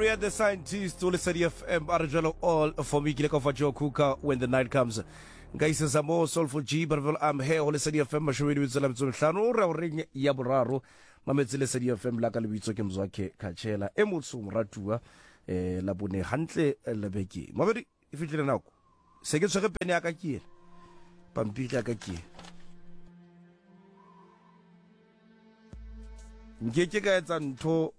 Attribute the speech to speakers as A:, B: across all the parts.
A: Gloria the Scientist o Lesedi FM a re jalo all for me ke ile ka fa Joe Cooker when the night comes nka isesa mo Soulful G but I'm here ho Lesedi FM mashome di tsela metso mehlano re o reng ya boraro mametse Lesedi FM la ka lebitso ke Mzwakhe Khatshela e motsho moratuwa eh la bone hantle le beke mabedi e fitlile nako se ke tshwere pene ya ka ke ena pampiri ya ka ke ena nke ke ka etsa ntho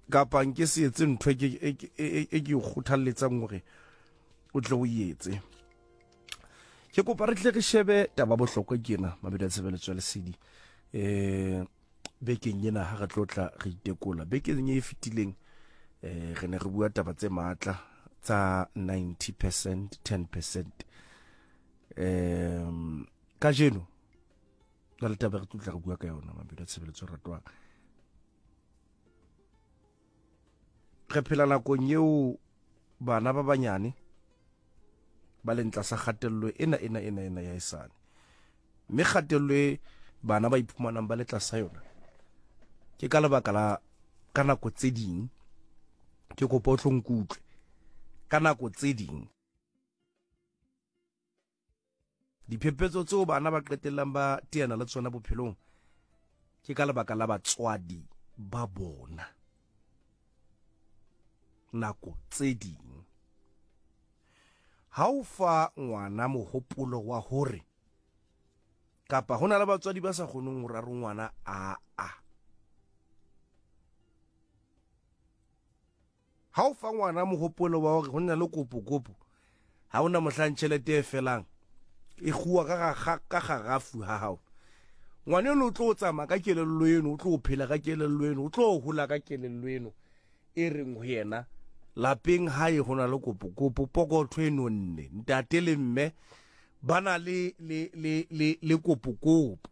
A: kapa nke se etse ntho e ke e ke e ke kgothalletsang hore o tle o etse ke kopa re tle re shebe taba bohlokwa ke ena mabedi a tshebeletso ya lesedi um bekeng ena ha re tlo tla re itekola bekeng e fetileng eh re ne re bua taba tse matla tsa 90% 10% um kajeno na le taba re tlo tla re bua ka yona mabedi a tshebeletso ratwang re phela nakong eo bana ba banyane ba leng tlasa kgatello ena ena ena ena ya esane mme kgatello e bana ba iphumanang ba le tlasa yona ke ka lebaka la ka nako tse ding ke kopa o tlo nkutlwe ka nako tse ding Diphephetso tseo bana ba qetellang ba teana le tsona bophelong ke ka lebaka la batswadi ba bona. Nako tse ding ha o fa ngwana mohopolo wa hore kapa ho na le batswadi ba sa kgoneng ho raro ngwana a a Ha o fa ngwana mohopolo wa hore ho na le kopokopo, ha ho na mohlang tjhelete e felang, e kguwa ka ka garafu ha hao. Ngwana eno o tlo tsamaya ka kelello eno, o tlo phela ka kelello eno, o tlo hola ka kelello eno e reng ho yena lapeng hae ho na le kopokopo, pokotho e nonne, ntate le mme ba na le le le le le kopokopo.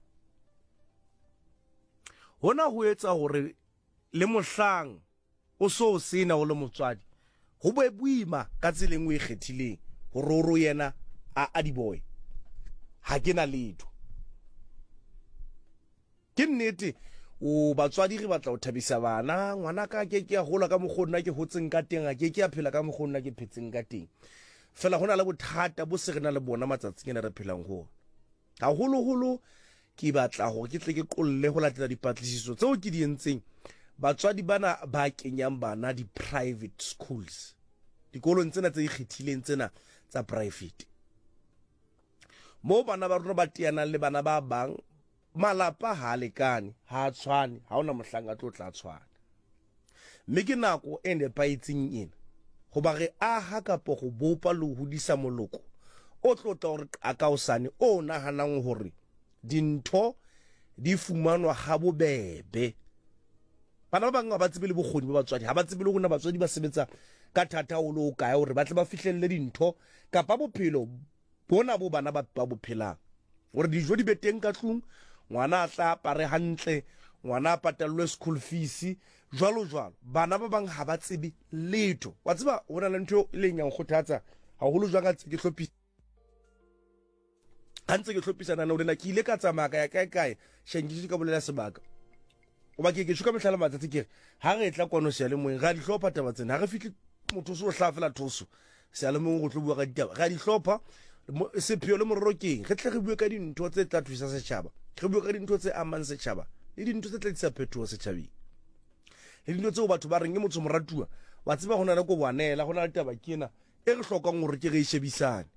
A: Hona ho etsa hore le mohlang o so o sena o le motswadi, ho be boima ka tsela engwe e kgethileng hore o re yena a a diboy ha ke na letho. Ke nnete o batswadi re batla ho thabisa bana, ngwana ka ke ke a hola ka mokgwa nna ke hotseng ka teng, a ke ke a phela ka mokgwa nna ke phetseng ka teng. Fela ho na le bothata bo se re na le bona matsatsing ana re phelang ho ona. Haholoholo ke batla hore ke tle ke qolle ho latela dipatlisiso tseo ke di entseng, batswadi bana ba kenyang bana di-private schools, dikolong tsena tse ikgethileng tsena tsa private, moo bana ba rona ba teanang le bana ba bang, malapa ha a lekane, ha a tshwane, ha hona mohlang a tlo tla tshwana. Mme ke nako e nepahetseng ena hoba re aha kapa go bopa le ho hodisa moloko o tlo tla o re qaka hosane o nahanang hore dintho di fumanwa habobebe. Bana ba bang ha ba tsebe le bokgoni ba batswadi, ha ba tsebe le hore na batswadi ba sebetsa ka thata haholo ho kae hore ba tle ba fihlelle dintho kapa bophelo bona bo bana ba ba bo phelang gore dijo di be teng ka tlung ngwana a tla apare hantle ngwana a patallwe school fees jwalo jwalo bana ba bang ha ba tsebe letho wa tseba ho na le ntho e leng ya nkgothatsa haholo jwang ka tse ke hlophisa ha ntse ke hlophisa naneo lena ke ile ka tsamaya ka ya kae kae sheng ke ka bolela sebaka Goba ke ke tšho ka mehla le matsatsi ke re, ha re etla kwano seyalemoyeng, re a di hlopha taba tsena. Ha re fihle motho o se o hlaha fela thoso seyalemoyeng go tlo bua ka ditaba. Re a di hlopha. Sepheo le morero ke eng? Re tle re bue ka dintho tse tla thusa setšhaba. Re bue ka dintho tse amang setšhaba le dintho tse tla tlisa phetoho setšhabeng. Le dintho tseo batho ba reng ke motho moratuwa, wa tseba go na le koboanela, go na le taba ke ena e re hlokang gore ke re e shebisane.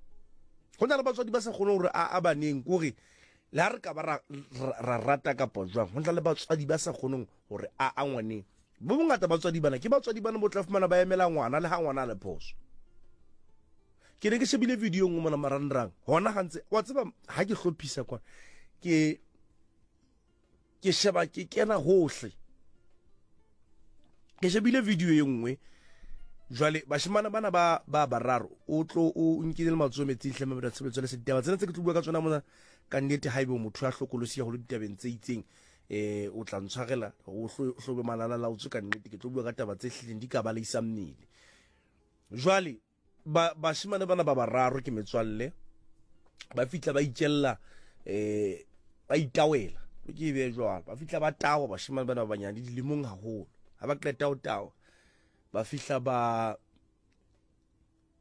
A: Go na le batswadi ba sa kgone gore a a baneng kore le ha re ka ba ra, ra rata kapa jwang, go na le batswadi ba sa kgoneng gore a a ngwaneng. Bo bongata batswadi bana ke batswadi bana bo tla fumana ba emela ngwana le ha ngwana a le phoso. Ke ne ke shebile video nngwe mona marangrang hona gantse wa tseba ha ke hlophisa kwa ke ke sheba ke kena hohle ke shebile video e nngwe jwale bashimana bana ba ba bararo o tlo o nkile le matsoho metsing hle mabeda tshebetso le ditaba tsena tse ke tlo bua ka tsona mona ka nnete ha ebe motho ya hlokolosi ya holo ditabeng tse itseng eh o tla ntshwarela o hlobe malala la o tswe ka nnete ke tlo bua ka taba tse hlileng di ka baleisa mmele jwale Ba, bashemane bana ba bararo ke metswalle, ba fihla ba itjella eh ba itawela, ke e beye jwalo, ba fihla ba tawa bashemane bana ba banyane dilemong haholo. Ha ba qeta ho tawa, ba fihla ba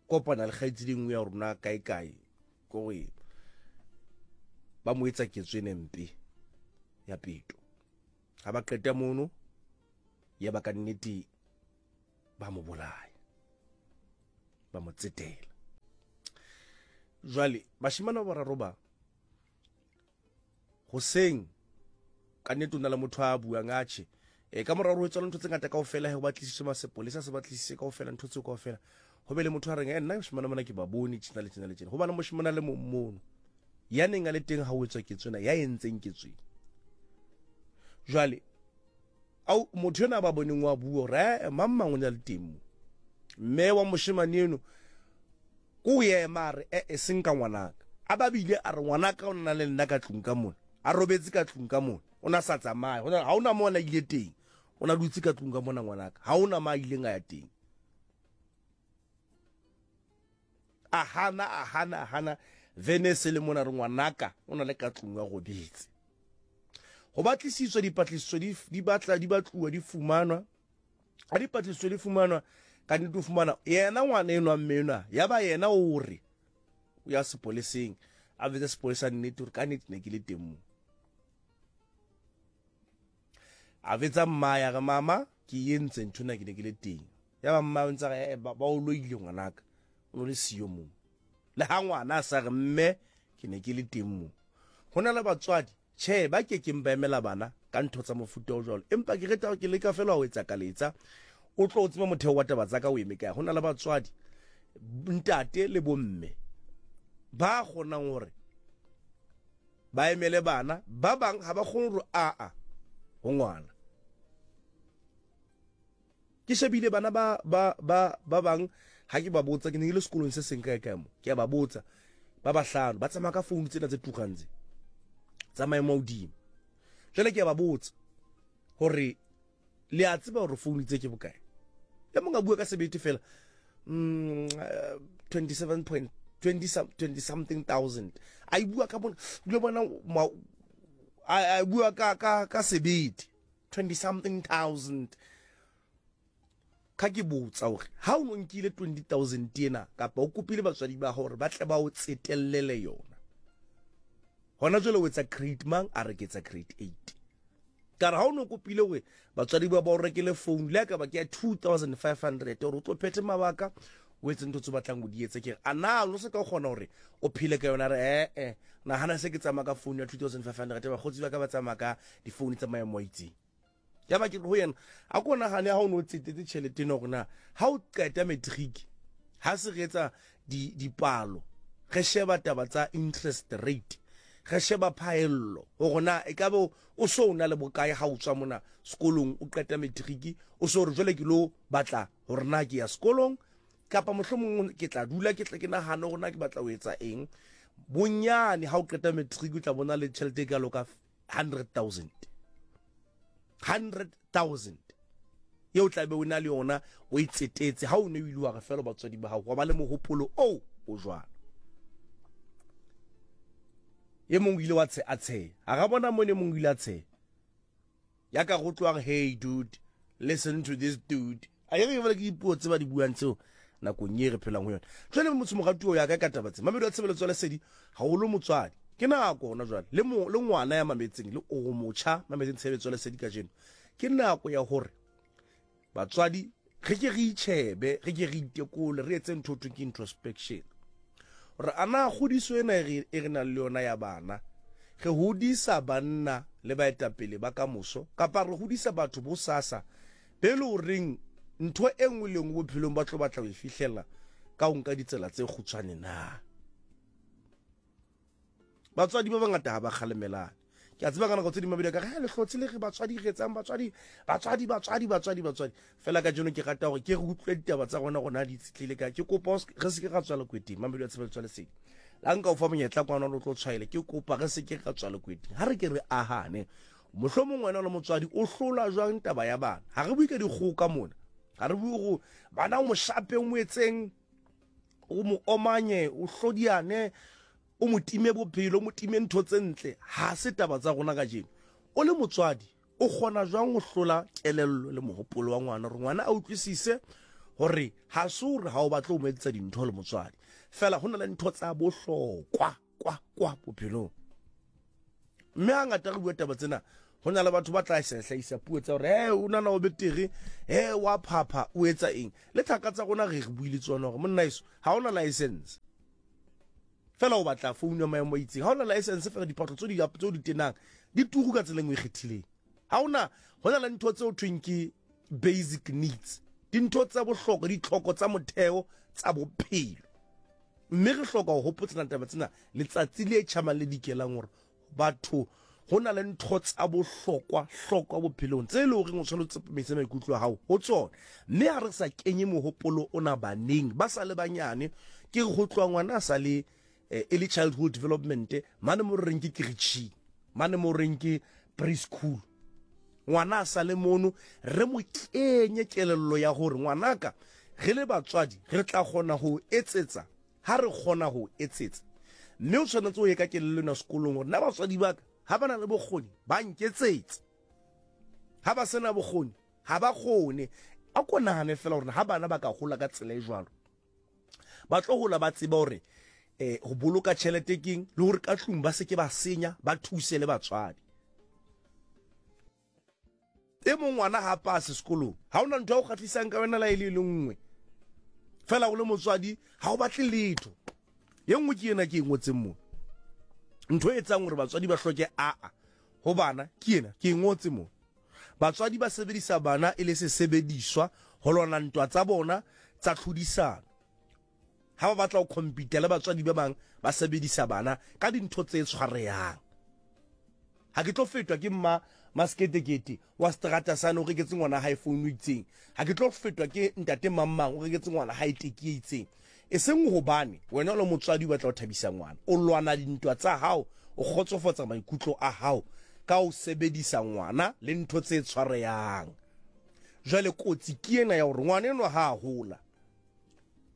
A: kopana le kgaitsedi e nngwe ya rona kae kae, kore ba mo etsa ketso ene mpe ya peto. Ha ba qeta mono, ya ba ka nnete ba mo bolaya, ba mo tsetela. Jwale bashemane ba bararo ba hoseng ka nnete o na le motho a buang atjhe e ka mora hore ho etswa ntho tse ngata kaofela he ho batlisiswe masepolesa se batlisise kaofela ntho tseo kaofela ho be le motho a reng eh, nna moshemane mona ke ba bone tjena le tjena le tjena hobane moshemane a le mong mono ya neng a le teng ha o etswa ketso ena ya entseng ketso ena jwale au motho ena a ba boneng wa bua hore eh, mang mang o ne a le teng mo mme wa moshemane eno Ko ema a re, E-e, seng ka ngwanaka. A ba bile a re, Ngwanaka o na le nna ka tlung ka mona. A robetse ka tlung ka mona. O na sa tsamaye. Ho na, ha ho na mo a na ile teng. O na dutse ka tlung ka mona ngwanaka. Ha ho na mo a ileng a ya teng. A hana, a hana, a hana. Vene se le mona re ngwanaka o na le ka tlung a robetse. Ho batlisiswa dipatlisiso di, di batla di batluwa di fumanwa. Ha dipatlisiso di fumanwa, ka nnete o fumana yena ngwana enwa mme enwa ya ba yena o re o ya sepoleseng a betse sepolesa nnete gore ka nnete ne ke le teng mo a betsa mma ya re mama ke entse ntho na ke ne ke le teng ya ba mma o ntse re eh, ba o loile ngwanaka o no le siyo mo le ha ngwana a sa re mme ke ne ke le teng mo ho na le batswadi Tjhe, ba ke keng ba emela bana ka ntho tsa mofuta o jwalo. Empa ke reta ke leka fela ho etsa kaletsa. O tlo o tsebe motheo wa taba tsa ka o eme kae. Ho na le batswadi, ntate le bomme ba kgonang hore ba emele bana. Ba bang ha ba kgone hore aa ho ngwana. Ke shebile bana ba ba ba ba bang ha ke ba botsa, ke ne ke le sekolong se seng kae kae mo, ke a ba botsa ba bahlano ba tsamaya ka founu tsena tse turang tse tsa maemo a hodimo. Jwale ke a ba botsa hore le a tseba hore founu tse ke bokae. E mong a bua ka sebete fela 27 point 20 20 something thousand. A e bua ka bona, o bona a bua ka ka ka sebete. 20 something thousand ka ke botsa hore ha o no nkile 20000 ena kapa o kopile batswadi ba hore ba tle ba o tsetellele yona hona jwale o etsa grade mang a re ke etsa grade 8 ka re ha o no kopile hore batswadi ba ba o rekele phone le ka ba ke ya 2500 hore o tlo phethe mabaka o etse ntho tse batlang o di etse ke re a na o se ka kgona hore o phele ka yona re eh eh nahana se ke tsamaya ka phone ya 2500 bakgotsi ba ka ba tsamaya ka difounu tsa maemo a itseng ya ba ke re ho yena a ko nagane ga o ne o tsetetse tšhelete eno gore na ga o qeta matric ga se re etsa dipalo re sheba taba tsa interest rate re sheba phaello gore na e ka be o so o na le bokae ga o tswa mona sekolong o qeta matric o so re jwale ke lo batla gore na ke ya sekolong kapa mohlomong ke tla dula ke tle ke nagane gore na ke batla ho etsa eng bonyane ga o qeta matric o tla bona le tšhelete e kalo ka 100,000 100,000 eo tla be o na le yona o e tsetetse ha o ne o ile wa re fela batswadi ba gago wa ba le mogopolo oo o jwalo e mongwe o ile wa tshe a tsheya a ga bona mone mongwe o ile a tsheya ya ka go tloang hey dude listen to this dude a ye re ke dipuo tse ba di buang tseo nakong e re phelang ho yona jwale motho moratuo ya ka ka taba tse mamedi wa tshebeletso ya lesedi haholo motswadi ke nako hona jwale le mo le ngwana ya mametseng le o motjha mametseng tshebeletso ya lesedi kajeno ke nako ya hore Batswadi, re ke re itjhebe, re ke re itekole, re etse ntho thweng ke introspection. Hore a na kgodiso ena e re, e re nang le yona ya bana, re hodisa banna le baetapele ba kamoso, kapa re hodisa batho bosasa be le horeng ntho e nngwe le nngwe bophelong ba tlo batla ho e fihlella ka ho nka ditsela tse kgutshwane na? Batswadi ba bangata ha ba kgalemelane. Ke a tseba ka nako tse ding mabedi a ka re, le hlotse le re batswadi re etsang batswadi, batswadi, batswadi, batswadi, batswadi. Fela kajeno ke rata hore ke re utlwe ditaba tsa rona rona di itshetlehile ka. Ke kopa re se ke ra tswa lekweteng, mamedi wa tshebeletso ya lesedi. La nka o fa monyetla kwana o tlo tshwaele, ke kopa re se ke ra tswa lekweteng. Ha re ke re ahane. Mohlomong wena o le motswadi o hlola jwang taba ya bana? Ha re bue ka dikgoka mona. Ha re bue go bana o mo shape o mo etseng, o mo omanye, o hlodiane. O mo time bophelo, o mo time ntho tse ntle. Ha se taba tsa rona kajeno. O le motswadi, O kgona jwang ho hlola kelello le mohopolo wa ngwana hore ngwana a utlwisise hore ha se hore ha o batle ho mo etsetsa dintho le motswadi, fela ho na le ntho tsa bohlokwa kwa kwa bophelong. Mme hangata re bua taba tsena, ho na le batho ba tla hlahisa puo tsa hore he o nana o betere, he wa phapha, o etsa eng. Le thaka tsa rona re re buile tsona hore monna eso ha ona license. Fela o batla phone ya maemo a itseng. Ha ona license fela diphahlo tse di tse di tenang di turu ka tsela e nngwe e kgethileng. Ha ona ho na le ntho tse ho thweng ke basic needs. Dintho tsa bohlokwa, ditlhoko tsa motheo tsa bophelo. Mme re hloka ho hopotsana taba tsena letsatsi le tjhabang le dikelang hore batho ho na le ntho tsa bohlokwa hlokwa bophelong tse e le horeng o tshwanetse o tsepamise maikutlo a hao ho tsona. Mme ha re sa kenye mohopolo ona baneng ba sa le banyane, ke re ho tloha ngwana a sa le eh, early childhood development mane mo re reng ke keretšhing, mane mo reng ke preschool, ngwana a sa le mono re mo kenye kelello ya gore ngwanaka re le batswadi re tla kgona ho etsetsa ha re kgona ho etsetsa. Mme o tshwanetse o ye ka kelello ena sekolong gore nna batswadi ba ka ha ba na le bokgoni ba nketsetsa, ha ba sena bokgoni ha ba kgone. A ko nahane fela gore ha bana ba ka gola ka tsela e jwalo, ba tlo gola ba tseba gore eh go boloka tšhelete keng le gore ka tlung ba se ke ba senya, ba thuse le batswadi. E mong ngwana ha pase sekolong, ha ona ntho ya go kgatlhisang ka wena la e le le nngwe fela o le motswadi ha o batle letho. Ye nngwe ke ena ke e ngotseng mo, ntho e etsang gore batswadi ba hloke aa ho bana ke ena ke e ngotse mo. Batswadi ba sebedisa bana e le sesebediswa ho lwana ntwa tsa bona tsa tlhodisano. Ha ba batla ho compete le batswadi ba bang, ba sebedisa bana ka dintho tse tshwarehang. Ha ke tlo fetwa ke mma masketekete wa seterata sane o reketse ngwana hae founu e itseng. Ha ke tlo fetwa ke ntate mang mang o reketse ngwana hae teki e itseng. E seng hobane wena o le motswadi o batla ho thabisa ngwana. O lwana dintwa tsa hao, o kgotsofatsa maikutlo a hao ka ho sebedisa ngwana le ntho tse tshwarehang. Jwale kotsi ke ena ya hore ngwana enwa ha a hola,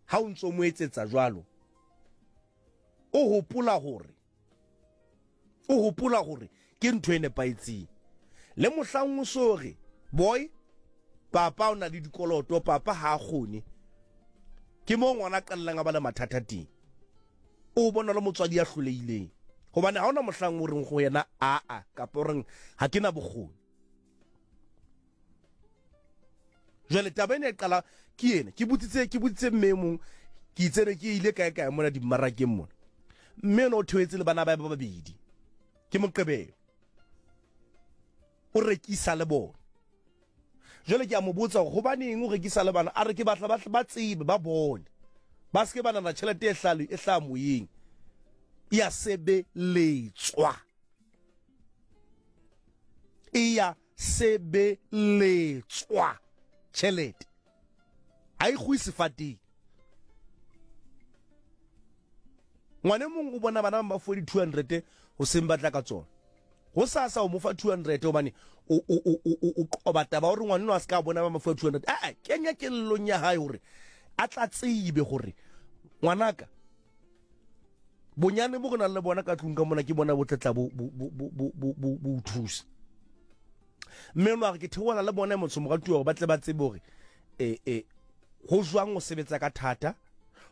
A: ha o ntso mo etsetsa jwalo, o hopola hore o hopola hore ke ntho e nepahetseng. Le mohlang o so re, boy, papa o na le dikoloto, papa ha a kgone, ke moo ngwana a qallang a ba le mathata teng. O bona le motswadi ya hlolehileng, hobane ha ona mohlang o reng go yena aa, kapa o reng ha ke na bokgoni. Jwale taba ena e qala ke ena. Ke botsitse, ke botsitse mme e mong, ke itse ne ke ile kae kae mona dimmarakeng mona. Mme ena o theohetse le bana ba ba babedi. Ke Moqebelo. O rekisa le bona. Jwale ke a mo botsa hore hobaneng o rekisa le bana, a re ke batla ba ba tsebe, ba bone. Ba se ke ba nahana tjhelete e hlaha e hlaha moyeng. E a sebeletswa. E ya sebeletswa tjhelete ha e kgwe sefateng. Ngwana e mong o bona bana ba fuwe di-200 hoseng ba tla ka tsona, ho sasa o mo fa 200 hobane o o o o o qoba taba hore ngwana a se ka bona ba mo fuwa 200. A kenya kellong ya hae hore a tla tsebe hore ngwanaka bonyane bo re nang le bona ka tlung ka mona ke bona bo tlatla bo bo bo bo bo bo bo thusa. Mme no a re ke theohela le bona motho moratuwa hore ba tle ba tsebe hore eh eh ho jwang ho sebetsa ka thata,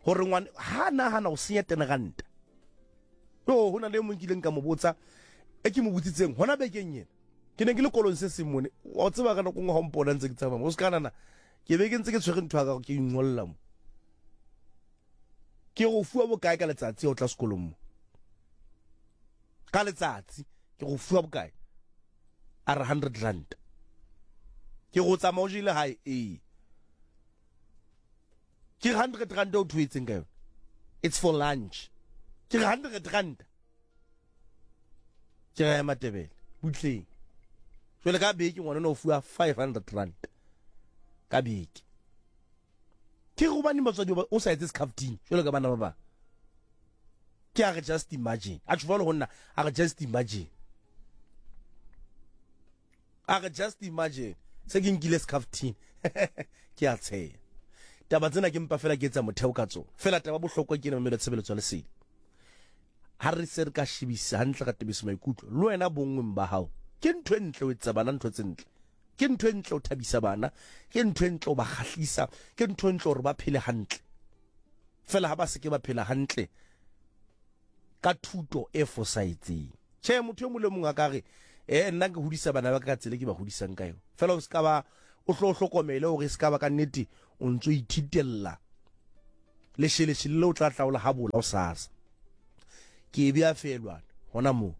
A: hore ngwana ha nahana ho senya ten ranta. Yo ho na le e mong kileng ka mo botsa, e ke mo botsitseng hona bekeng ena, ke ne ke le kolong se seng mone, wa tseba ka nako nngwe ha o mpona ntse ke tsamaya o se ka nana ke be ke ntse ke tshwere ntho ya ka ke ingolla mo. Ke go fuwa bokae ka letsatsi o tla sekolong mo? Ka letsatsi ke go fuwa bokae? A re 100 rand. Ke go tsamaya o jele hae? Ee. Ke 100 rand o thoetseng ka yone? It's for lunch. Ke 100 rand. Ke re Matebele butleng. Jwale ka beke ngwana o fuwa 500 rand ka beke. Ke gobaneng batswadi o sa etse scaftini jwalo ka bana ba bang? Ke a re just imagine. A tjho ho nna, a re just imagine. A re just imagine. Se ke nkile scaftini. Ke a tsheya. Taba tsena ke mpa fela ke etsa motheo ka tsona. Fela taba bohlokwa ke ena mamelo tshebeletso ya lesedi. Ha re se re ka shebisa hantle ka tebisa maikutlo, le wena bonngweng ba hao. Ke ntho e ntle ho etsetsa bana ntho tse ntle. Ke ntho e ntle ho thabisa bana, ke ntho e ntle ho ba kgahlisa, ke ntho e ntle hore ba phele hantle. Fela ha ba se ke ba phela hantle ka thuto e fosahetseng. Tjhe, motho e mong le mong a ka re, eh, nna ke hodisa bana ba ka ka tsela e ke ba hodisang ka yona. Fela o se ka ba o hlo o hlokomele hore e se ka ba ka nnete o ntso ithitella lesheleshele le o tla tla o le habola o sasa. Ke e bea feelwane hona moo.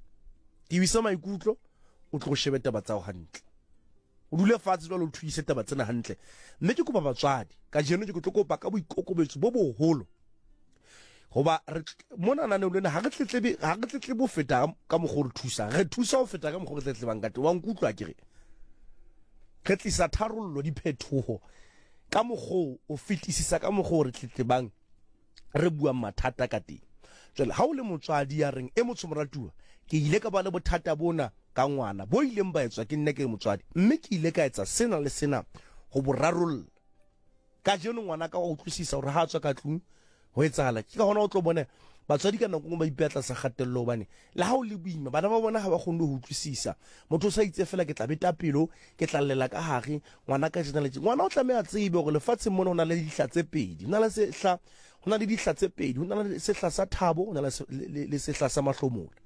A: Tebisa maikutlo o tlo shebe taba tsa hao hantle. O dule fatshe jwale o thuise taba tsena hantle. Mme ke kopa batswadi kajeno ke tlo kopa ka boikokobetso bo boholo hoba re mona naneong lena ha re tletlebe ha re tletlebe ho feta ka mokgwa o re thusang re thusa ho feta ka mokgwa re tletlebang ka teng wa nkutlwa ke re re tlisa tharollo diphethoho ka mokgwa o fetisisa ka mokgwa o re tletlebang re buang mathata ka teng jwale ha o le motswadi ya reng e motsho moratuwa ke ile ka ba le bothata bona ka ngwana bo ileng ba etswa ke nna ke le motswadi mme ke ile ka etsa sena le sena ho bo rarolla Kajeno ngwanaka wa utlwisisa hore ha a tswa ka tlung ho etsahala. Ke ka hona o tlo bona batswadi ka nako nngwe ba ipeha tlasa kgatello hobane le ha o le boima bana ba bona ha ba kgone ho utlwisisa. Motho o sa itse fela ke tla beta pelo, ke tla llela ka hare, ngwanaka tjena le tje. Ngwana o tlameha a tsebe hore lefatsheng mona ho na le dihla tse pedi. Ho na le sehla, ho na le dihla tse pedi. Ho na le sehla sa thabo, ho na le sehla sa mahlomola.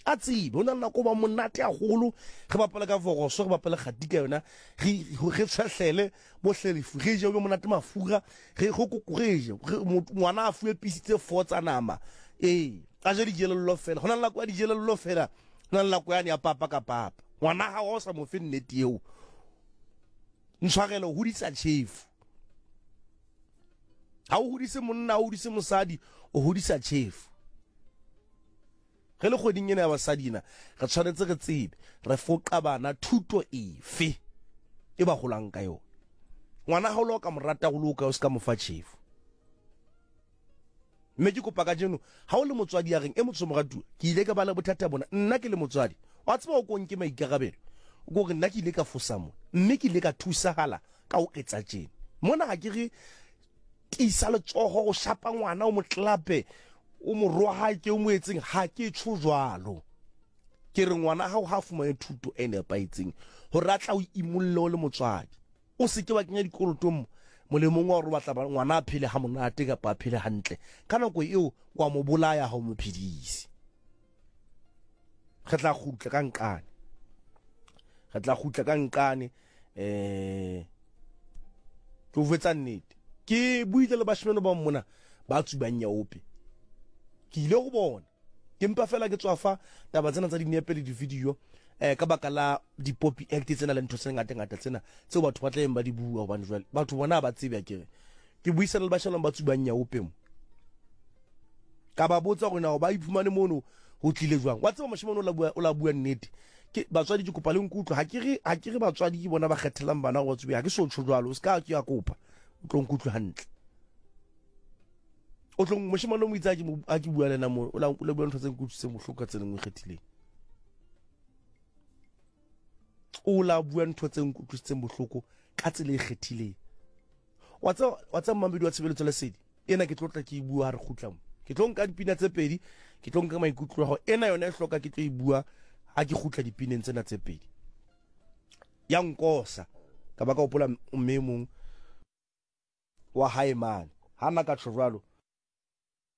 A: A tsebe ho na le nako ba monate haholo re bapale ka voroso re bapale kgati ka yona re re tshwehlele bohlelefu re je o be monate mafura re go re je ngwana a fuwe pisi tse four tsa nama ee a je dijelello fela go na le nako ya dijelello fela go na le nako yane ya papa ka papa ngwana gago o sa mo fe nnete eo ntshwarelo o hodisa tšhefu ga o hodise monna o hodise mosadi o hodisa tšhefu Re le kgweding ena ya basadi ena, re tshwanetse re tsebe re foqa bana thuto efe e ba golang ka yona. Ngwana ga o le o ka mo rata go le o ka o se ka mo fa tšhefu. Mme ke kopa kajeno ha o le motswadi ya reng e motsho moratuwa, ke ile ka ba le bothata bona nna ke le motswadi. Wa tseba o ko nke maikarabelo. O ko re nna ke ile ka fosa mona mme ke ile ka thusahala ka ho etsa tjena. Mona ha ke re tiisa letsogo o shapa ngwana o mo tlape o mo rohake o mo etseng ha ke tsho jwalo ke re ngwana gago ga a fumane thuto e nepahetseng gore a tla o imolle o le motswadi o se ke wa kenya dikolotong molemong wa gore o batla ngwana a phele ga monate kapa a phele hantle ka nako eo wa mo bolaya ga o mo phedise re tla kgutla ka nqane re tla kgutla ka nqane eh ke o fetsa nnete ke buile le bashimane ba mona ba tsubang nyaope ke ile go bona ke mpa fela ke tswa fa taba tsena tsa dinepe le di-video eh ka baka la di-poppy act tsena le ntho tse ngata ngata tsena tseo batho ba tlabeng ba di bua hobane jwale batho bona ba tsebe akere ke buisana le bashimane ba tsubang nyaope mo ka ba botsa gore na ba iphumane mono ho tlile jwang wa tseba moshemane o la bua nnete ke batswadi ke kopa le nkutlwe ha ke re ha ke re batswadi ke bona ba kgethelang bana gore ba tsube ha ke so tjho jwalo o se ka ke ya kopa o tlo nkutlwe hantle o tlo moshemane o mo itse ha ke bua le ena mo o la bua ntho tse nkutlwisitseng bohloko ka tsela e nngwe e kgethileng o la bua ntho tse nkutlwisitseng bohloko ka tsela e kgethileng wa tseba wa tseba mmamedi wa tshebeletso lesedi ena ke tlo tla ke e bua ha re kgutla mo ke tlo nka dipina tse pedi ke tlo nka maikutlo a gago ena yona e hloka ke tlo e bua ha ke kgutla dipineng tsena tse pedi ya nkosa ka ba ka hopola mme e mong wa hae mane ha nna ka tjho jwalo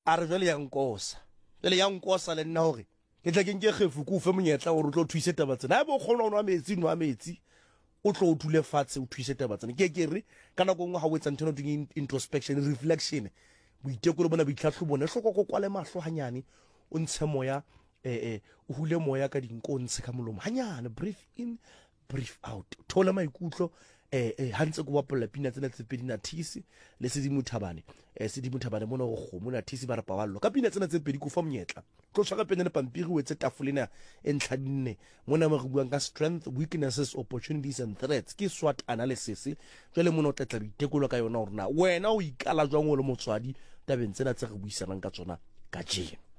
A: A re, Jwale ya nkosa. Jwale ya nkosa le nna hore ke tle ke nke kgefu ke o fe monyetla hore o tlo thuise taba tsena. Haeba o kgona ho nwa metsi, nwa metsi. O tlo o dule fatshe o thuise taba tsena. Ke ke re ka nako e nngwe ha o etsa ntho ena ho thweng introspection, reflection, boitekolo bona, boitlhahlobo bona, e hloka o kwale mahlo hanyane, o ntshe moya, o hule moya ka dinko, o ntshe ka molomo hanyane, breathe in, breathe out theola maikutlo eh eh ha ntse ke bapalla pina tsena tse pedi Nathisi le Sedimo Thabane eh Sedimo Thabane mona go kgomo Nathisi ba re paballo ka pina tsena tse pedi ko fa monyetla tlo tshwara pene le pampiri o etse tafole ena e ntlha dinne mona mo re buang ka strength weaknesses opportunities and threats ke SWOT analysis jwale mona o tla tla boitekolo ka yona hore na wena o ikala jwang o le motswadi tabeng tsena tse re buisanang ka tsona kajeno.